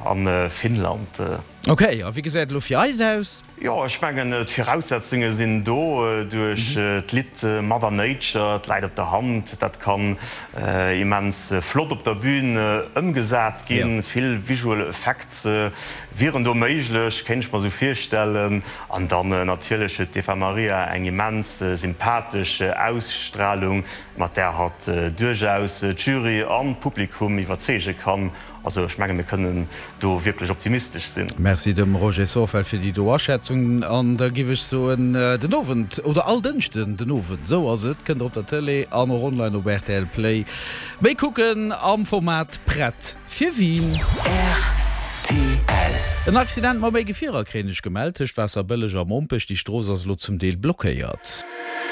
A Finnland. Ok, a wéi gesäit et elo fir eis aus? Jo, ech mengen d'Viraussetzunge sinn do duerch d'Lidd Mother Nature, et läit op der Hand, dat kann immens flott op der Bühn ëmgesat ginn. Vill visual effects wieren do méiglech, kéint ech mer esou virstellen. An dann natierlech huet d'Eva Marija eng immens sympathesch Ausstralung, mat där hatt duerchaus d'Jury an d'Publikum iwwerzeege kann. Also ech menge mir kënnen do wierklech optimistesch sinn. Merci dem Roger Sorfeld fir déi do Aschätzung. An da giff ech soen, den Owend, oder all Dënschden den Owend, esou ass et, kënnt der op der Tëlee an och online op rtl Play méi kucken am Format Prett fir Wien. Rtl. En Accident mat méi Gefierer kréien ech gemellt tëscht Waasserbëlleg a Mompech. Déi Strooss ass elo zum Deel blockéiert.